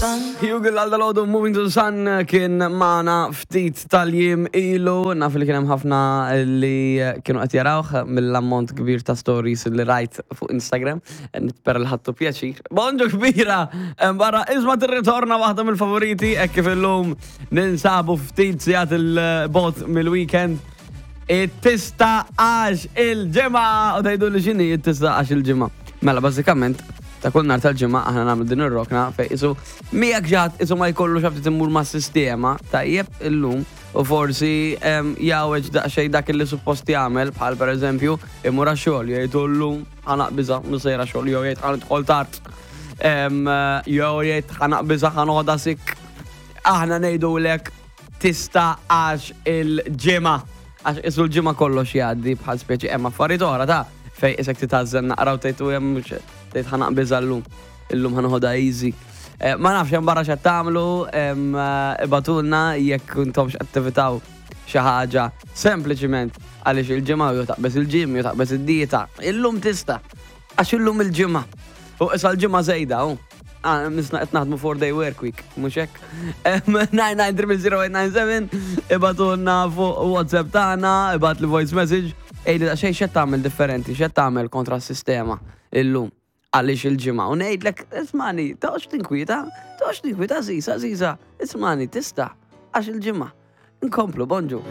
sun. Hugel għal dal-għodu Moving to the Sun kien maħna ftit tal-jiem ilu, naf li kien hemm ħafna li kienu qed jarawh mill-ammont kbir ta' stories li rajt fuq Instagram, nispera li ħadtu pjaċir. Bonġu kbira, barra isma tirritorna waħda mill-favoriti hekk kif illum ninsabu ftit sigħat il-bot mill-weekend. It-tista għax il-ġimgħa u tgħidu li x'inhi it-tista għax il-ġimgħa. Mela bażikament ta' kull nhar tal-ġimgħa aħna nagħmlu din ir-rokna fejn isu miegħek ġat isu ma jkollux ftit immur mas-sistema tajjeb illum u forsi jgħaweġ daqsxejn dak li suppost jagħmel bħal pereżempju imur għax-xogħol jgħid llum ħa naqbiżha mhux sejra xogħol jew jgħid ħa nidħol tard jew jgħid ħa naqbiżha ħa noħodha sick. Aħna ngħidulek tista' għax il-ġimgħa. Għax isu l-ġimgħa kollox jgħaddi bħal speċi hemm affarijiet oħra ta' fej isek titgħażżel naqra u tgħid u hemm mhux tgħid ħa naqbiżha llum. Illum ħa noħodha easy. Eh, ma nafx hemm barra x'qed tagħmlu, eh, ibatulna jekk intomx qed tivitaw xi ħaġa sempliċiment għaliex il-ġimgħa jew taqbeż il-gym jew taqbeż id-dieta. Illum tista' għax illum il-ġimgħa. U issa l-ġimgħa żejda, hu. Ah, misna qed naħdmu 4 day work week, mhux hekk? 9930897 ibatulna fuq WhatsApp tagħna, ibat li voice message, ejli daqsxejn x'qed tagħmel differenti, x'qed tagħmel kontra s-sistema illum għaliex il-ġimgħa. U ngħidlek, ismani, toqgħodx tinkwieta, toqgħodx tinkwieta żiża, żiża, ismani, tista' għax il-ġimgħa. Nkomplu, bonġu.